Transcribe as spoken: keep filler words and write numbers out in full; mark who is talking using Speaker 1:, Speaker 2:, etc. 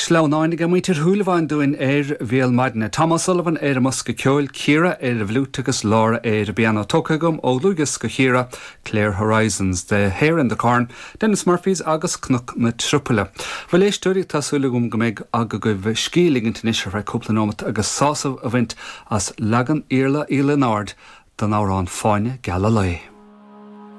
Speaker 1: Sleamhnáin ag muintir Shúilleabháin dúinn ar Bhéal Maidine. Tom O'Sullivan ar an mbosca ceoil Ciara ar an bhfliúit agus Laura ar an bpianó tógtha agam ó Lugas go Chiara, Clear Horizons, The Hare in the Corn, Dennis Murphys agus Cnoc na Trupaile. Bhuel a éisteoirí tá súil agam go mbeidh agaibh scíth a ligint anois ar feadh cúpla nóiméad agus sásamh a bhaint as leagan Iarla Uí Lionáird den amhrán Fáinne Geal an Lae.